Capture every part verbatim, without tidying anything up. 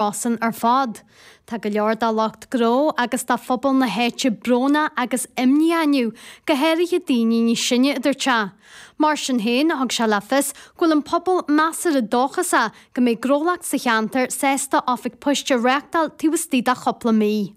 Rosann ar fad. Tá go leor de lucht gnó agus de phobal na háite brónach agus imníoch inniu, go háirithe daoine níos sine, a dúirt sé. Mar sin féin, thug sé le fios go bhfuil an pobal measartha dóchasach go mbeidh gnólacht sa cheantar sásta oifig poist a reáchtáil taobh istigh de chúpla mí.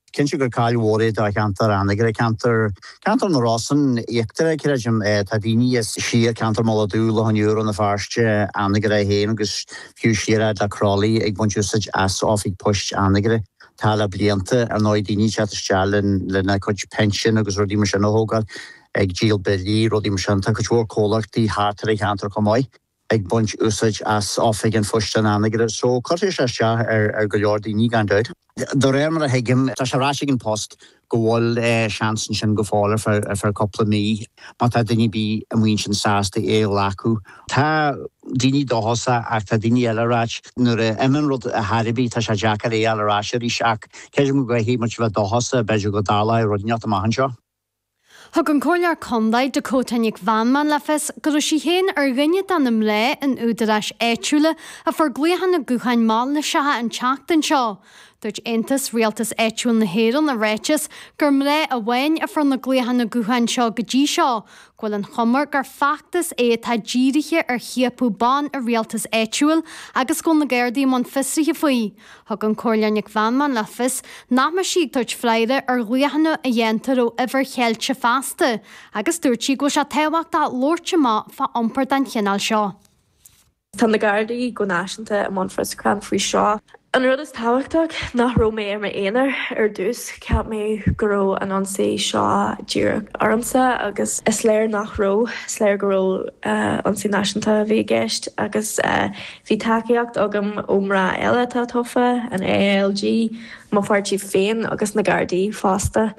Cinnte gur caill mhór é do cheantar Anagaire, ceantar ceantar na Rosann íochtarach, creidim. Tá daoine as siar ceantar Mhullach Dubh, Loch an Iúir, Rann na Feirste, Anagaire féin agus fiú siar fhad le Crolly ag baint úsáid as oifig poist Anagaire. Tá le blianta, ar ndóigh, daoine ag teacht isteach lena cuid pinsean agus rudaí mar sin a thógáil, ag díol billí, rudaí mar sin. Tá cuid mhór comhlachtaí thart ar an cheantar chomh maith ag baint úsáid as oifig an phoist in Anagaire. So cuirfidh sé isteach ar ar go leor daoine gan dabht. De réir mar a thuigim, tá sé ráite ag An Post go bhfuil seans ansin go fóill ar feadh ar feadh cúpla mí má tá duine ar bith amuigh ansin sásta é a ghlacadh. Tá daoine dóchasach ach tá daoine eile ag ráit nuair a imíonn rud ar chor ar bith tá sé deacair é a fháil ar ais arís ach creidim go gcaithfidh muid a bheith dóchasach b'fhéidir go dtarlóidh rud inteacht amach anseo. Thug an Comhairleoir Contae Dakota Nic Mheanman le fios go raibh sí féin ar dhuine de na mná in údaráis áitiúla a fuair glaochanna gutháin mailíseacha an tseachtain seo. Dúirt Aontas Rialtas Áitiúil na hÉireann i ráiteas gur mná amháin a fuair na glaochanna gutháin seo go dtí seo, go bhfuil an chuma gur feachtas é atá dírithe ar chiapadh ban i rialtas áitiúil agus go bhfuil na Gardaí i mbun fiosraithe faoi. Thug an Comhairleoir Nic Mheanman le fios nach mbeidh sí ag tabhairt freagra ar ghlaochanna a dhéantar ó uimhir cheilte feasta agus dúirt sí go bhfuil sé tábhachtach labhairt amach fá iompar den chineál seo. Tá na Gardaí go náisiúnta i mbun fiosrúchán faoi seo. An rud is tábhachtach nach raibh mé ar m'aonar ar dtús, cheap mé go raibh an ionsaí seo díreach ormsa agus is léir nach raibh, is léir go raibh ionsaí náisiúnta a bhí i gceist agus bhí tacaíocht agam ó mná eile atá tofa, an A I L G, mo pháirtí féin agus na Gardaí fosta.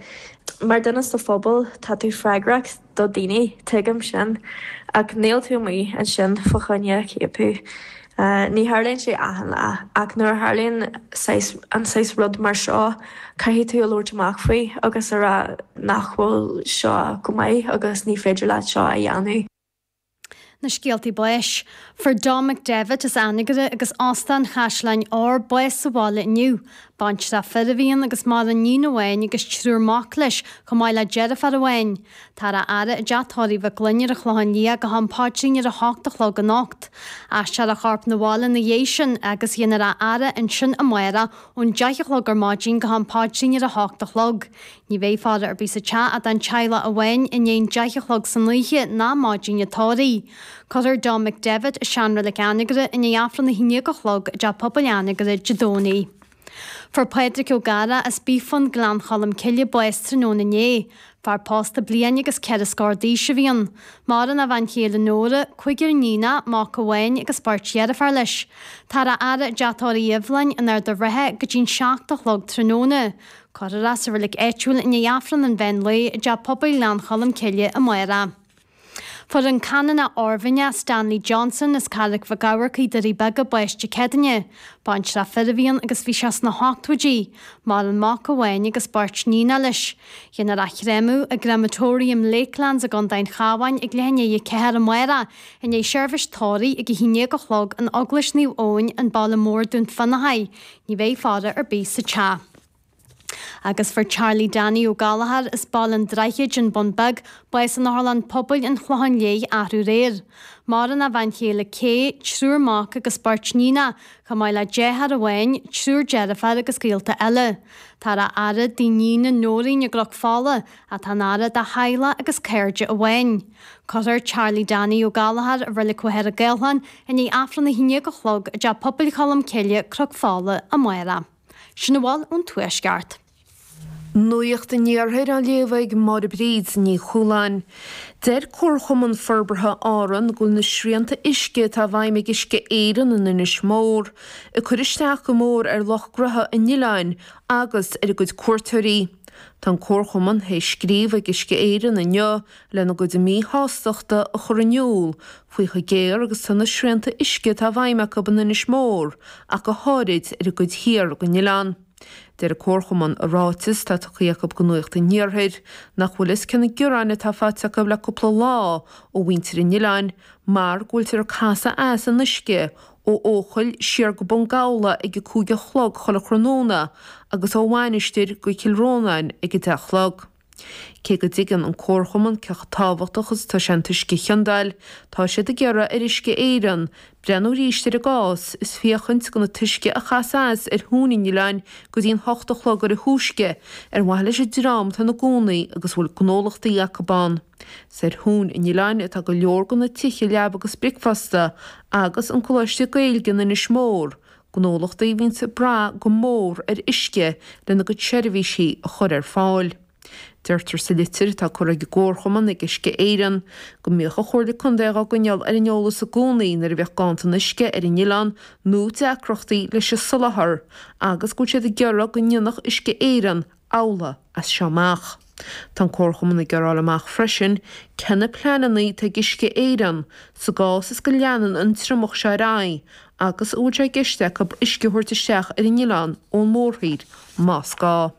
Mar duine sa phobal tá tú freagrach do daoine, tuigim sin, ach níl tú amuigh ansin fá choinne ciapadh. Ní tharlaíonn sé achan lá, ach nuair a tharlaíonn saghas an saghas rud mar seo, caithfidh tú a labhairt amach faoi agus a rá nach bhfuil seo go maith agus ní féidir leat seo a dhéanamh. Na scéaltaí báis. Fuair Dom McDevitt as Anagaire agus Óstán Chaisleáin Óir bás sa bhaile inniu. Baintreach fir a bhí ann agus maireann iníon amháin agus triúr mac leis, chomh maith le deirfiúr amháin. Táthar á fhaire i dteach tórraimh Mhic Gloinn ar an Chlochán Liath go ham paidrín ar a hocht a chlog anocht. Aistreofar a chorp 'na bhaile ina dhiaidh sin agus dhéanfar a fhaire ansin amárach ón deich a chlog ar maidin go ham paidrín ar a hocht a chlog. Ní bheidh faire ar bith sa teach ach don teaghlach amháin i ndiaidh an deich a chlog san oíche ná maidin an tórraimh. Cuirfear Dom McDevitt i seanreilig Anagaire i ndiaidh Aifreann a haon déag a chlog i dTeach Pobail Anagaire Dé Domhnaigh. Fuair Pádraig Ó Gadhra as Bífon, Gleann Cholm Cille bás tráthnóna inné. Fear pósta bliain agus ceithre scór d'aois a bhí ann. Maireann a bhean chéile Nóra, cúigear iníonacha, mac amháin agus beirt dheirféar leis. Táthar á fhaire i dTeach Tórraimh Eibhleáin in Ard an Rátha go dtí'n seacht a chlog tráthnóna. Cuirfear é sa reilig áitiúil i ndiaidh Aifreann an mheán lae i dTeach Pobail Ghleann Cholm Cille amárach. Fuair an Canónach Oirmhinneach Stanley Johnson as Carraig Mhic Eamharcaigh, Doirí Beaga, bás Dé Céadaoine. Baintreach fir a bhí ann agus bhí sé sna hochtóidí. Maireann mac amháin agus beirt níonacha leis. Dhéanfar a chréamadh i gCrematorium Lakelands i gContae an Chabháin ag leath i ndiaidh a ceathair amárach, i ndiaidh seirbhís tórraimh ag a haon déag a chlog in Eaglais Naomh Eoin, an Baile Mór, Dún Fionnachaidh. Ní bheidh faire ar bith sa teach. Agus fuair Charlie Danny Ó Gallchóir as Baile an Droichid, An Bun Beag, bás in Otharlann Pobail an Chlocháin Léith arú aréir. Maireann a bhean chéile Kay, triúr mac agus beirt níonacha, chomh maith le deartháir amháin, triúr deirféar agus gaolta eile. Táthar á fhaire dá iníon Nóirín i gCnoc Fola, atá ina fhaire dá theaghlach agus cairde amháin. Cuirfear Charlie Danny Ó Gallchóir i Reilig Mhachaire Gathlán i ndiaidh Aifreann a haon déag a chlog i dTeach Pobail Cholm Cille, Cnoc Fola, amárach. Sin a bhfuil ón Tuaisceart. Nuacht an Iarthair á léamh ag Máire Bríd Ní Chualáin. Deir Comharchumann Forbartha Árann go bhfuil na srianta uisce atá i bhfeidhm ag Uisce Éireann in Inis Mór ag cur isteach go mór ar lucht gnaithe an oileáin agus ar a gcuid cuairteoirí. Tá an Comharchumann théis scríobh ag Uisce Éireann inniu lena gcuid míshástachta a chur in iúl faoi chomh géar agus tá na srianta uisce atá i bhfeidhm acu in Inis Mór ach go háirid ar an gcuid thiar den oileán. Deir an Comharchumann i ráiteas atá tugtha acu do Nuacht an Iarthair nach bhfuil fhios cé na gearáin atá faighte acu le cúpla lá ó mhuintir an oileáin mar go bhfuiltear ag casadh as an uisce ó Eochaill siar go Bun Gabhla ag a cúig a chlog chuile thráthnóna agus ó Mhainistir go Cill Rónáin ag a deich a chlog. Cé go dtuigeann an Comharchumann cé chomh tábhachtach is atá sé an t-uisce a chiondáil, tá siad ag iarraidh ar Uisce Éireann breathnú arís ar an gcás is féachaint don t-uisce a chasadh as ar thóin an oileáin go dtí an hocht a chlog ar a thúisce ar mhaithe leis an dream atá ina gcónaí agus a bhfuil gnólachtaí acu ann. Is ar thóin an oileáin atá go leor de na tithe leaba agus bricfeasta agus an Coláiste Gaeilge in Inis Mór, gnólachtaí a bhíonns ag brath go mór ar uisce lena gcuid seirbhísí a chur ar fáil. Deirtear sa litir atá curtha ag an gComharchumann ag Uisce Éireann go mbíodh an Chomhairle Contae á gcoinneáil ar an eolas i gcónaí nuair a bheadh ganntan uisce ar an oileán nó deacrachtaí leis an soláthar agus go bhfuil siad ag iarraidh go ndéanfadh Uisce Éireann amhlaidh as seo amach. Tá an Comharchumann ag iarraidh a fháil amach freisin cé na pleananna atá ag Uisce Éireann sa gcás is go leanann an triomach seo ar aghaidh agus an bhfuil sé i gceist acu uisce a thabhairt isteach ar an oileán ón mórthír más gá.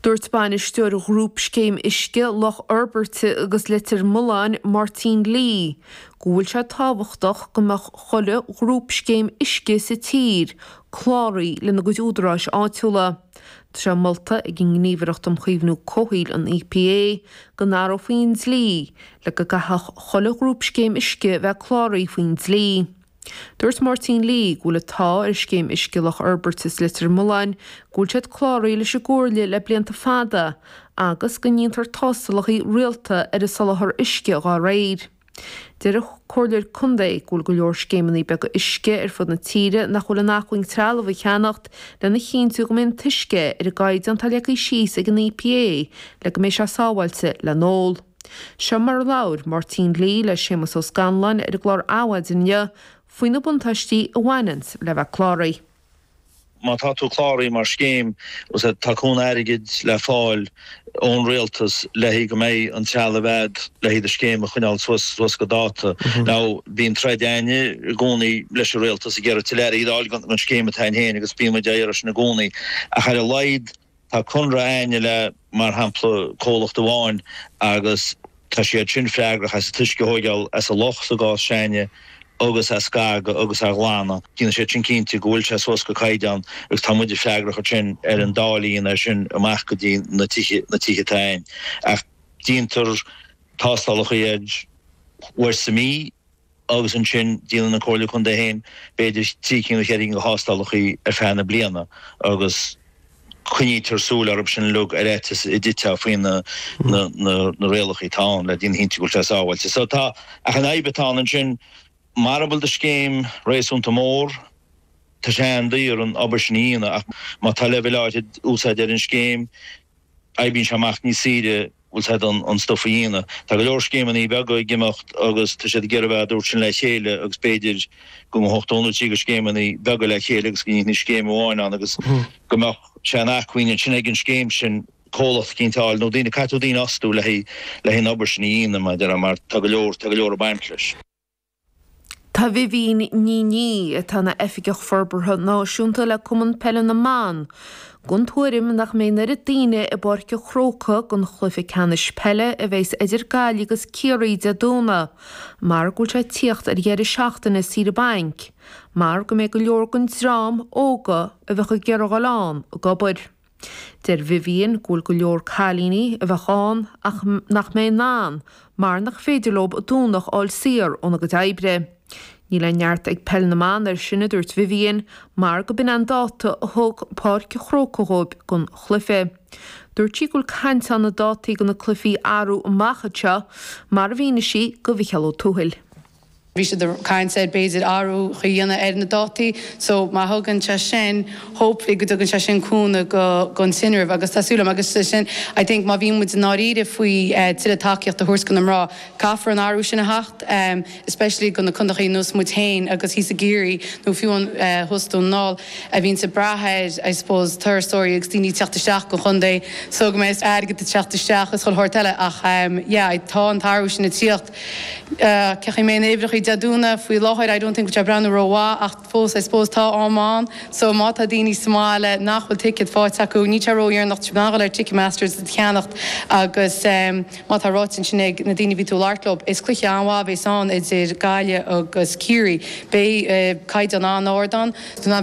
Dúirt bainisteoir Ghrúpscéim Uisce Loch Fhorbairte agus Leitir Mealláin, Máirtín Lee, go bhfuil sé tábhachtach go mbeadh chuile ghrúpscéim uisce sa tír cláraithe lena gcuid údaráis áitiúla. Tá sé molta ag an nGníomhaireacht um Chaomhnú Comhshaoil, an EPA, go n-athrófaí an dlí le go gcaithfeadh chuile ghrúpscéim uisce bheith cláraithe faoin dlí. Dúirt Máirtín Lee go bhfuil an t-ádh ar Scéim Uisce Loch Fhorbairt is Leitir Mealláin go bhfuil siad cláraithe leis an gComhairle le blianta fada agus go ndéantar tástálacha rialta ar an soláthar uisce dhá réir. Deir an Comhairleoir Contae go bhfuil go leor scéimeanna beaga uisce ar fud na tíre nach bhfuil in acmhainn trealamh a cheannacht lena chinntiú go mbeidh an t-uisce ar an gcaighdeán atá leagtha síos ag an EPA le go mbeidh sé sábháilte le n-ól. Seo mar a labhair Máirtín Lee le Séamus Ó Scanláin ar an gclár Adhmhaidin inniu faoi na buntáistí a bhaineanns le bheith cláraithe. Má tá tú cláraithe mar scéim, tá cúnamh airgid le fáil ón rialtas le haghaidh go mbeidh an trealamh a'd le haghaidh do scéim a choinneáil suas suas go dáta. Now bíonn troid a'inne i gcónaí leis an rialtas ag iarraidh tuilleadh airgid a fháil don scéim atá a'inn féin agus bíonn muid á iarraidh sin i gcónaí. Ach ar a laghad Tá conradh a'inne le, mar shampla, comhlacht amháin agus tá siad sin freagrach as an t-uisce a thóigeáil as an loch sa gcás s'a'inne agus a scagadh agus a ghlanadh. Déanann siad sin cinnte go bhfuil sé suas go caighdeán agus tá muide freagrach ansin ar an dá líon air sin amach go dtí na tithe, na tithe atá a'inn. Ach déantar tástálacha air uair sa mí. agus ansin déanann an Comhairle Contae féin b'fhéidir trí cinn nó ceithre cinn de thástálacha ar feadh na bliana agus coinnítear súil orthu sin uilig ar fhaitíos a dtitfeá faoi na na rialacha atá ann le déanamh cinnte go bhfuil sé sábháilte. So tá, ach an fhadhb atá ann ansin, mara bhfuil do scéim réasúnta mór, tá sé an-daor an obair sin a dhéanamh ach má tá leibhéal áirid úsáide ar an scéim, oibríonn sé amach níos saoire, bhfuil a fhios a'd, an stuif a dhéanamh. Tá go leor scéimeanna beaga ag imeacht agus tá siad ag iarraidh a bheith dúirt sin le chéile agus b'fhéidir go ngabhfadh dó nó trí de scéimeanna beaga le chéile agus go ndéanfaí scéim amháin ann agus go mbeadh sé in acmhainn ansin ag an scéim sin comhlacht eicínt a fháil nó daoine, caithfidh tú daoine a fhostú le haghaidh le haghaidh an obair sin a dhéanamh mar a déarfá mar tá go leor, tá go leor ag baint leis. Tá Vivian Ní Niadh, atá ina Oifigeach Forbartha Náisiúnta le Cumann Peile na mBan, den tuairim nach mbeidh an oiread daoine i bPáirc an Chrócaigh don chluiche ceannais peile a bheas idir Gaillimh agus Ciarraí Dé Domhnaigh mar go bhfuil sé ag tíocht ar dheireadh seachtaine saoire bainc mar go mbeidh go leor den dream óga a bheadh ag iarraidh dhul ann ag obair. Deir Vivian go bhfuil go leor cailíní a bheadh ann ach nach mbeidh in ann mar nach féidir leo an Domhnach a fháil saor óna gcuid oibre. Níl aon neart ag Peil na mBan air sin, a dúirt Vivian, mar go b'in an dáta a thug Páirc an Chrócaigh dhóibh don chluiche. Dúirt sí go bhfuil caint ann na dátaí do na cluichí a athrú amach anseo, mar a mhínigh sí do Mhicheál Ó Tuathail. Bhí siad ag caint ar b'fhéidir athrú a dhéanamh ar na dátaí so má thugann sé sin, hopefully go dtugann sé sin cúnamh go gon tinreamh agus tá súil agam agus sin I think má bhíonn muid i ndáiríre faoi tuilleadh tacaíocht a thabhairt go na mná caithfear an athrú sin a theacht especially go na contaethaí ar nós muid féin agus thíos i gCiarraí nó fiú an thuas Dún na nGall a bhíonns ag brath ar I suppose turasóirí agus daoine ag teacht isteach go chontae so go mbeidh airgead ag teacht isteach is chuile shórt eile ach yeah tá an t-athrú sin ag tíocht. Cé chaoi mbeidh na uimhreacha Dé Domhnaigh faoi láthair I don't think go breathnú rómhaith ach fós I suppose tá am ann so má tá daoine sa mbaile nach bhfuil ticéad faighte acu níl sé ródheireanach dul ar Ticketmasters a cheannacht agus um, má tá ráite sin ag na daoine bhí tú labhairt leo is cluiche an-mhaith a bheas ann idir Gaillimh agus Ciarraí. Beidh uh, caighdeán an-ard ann.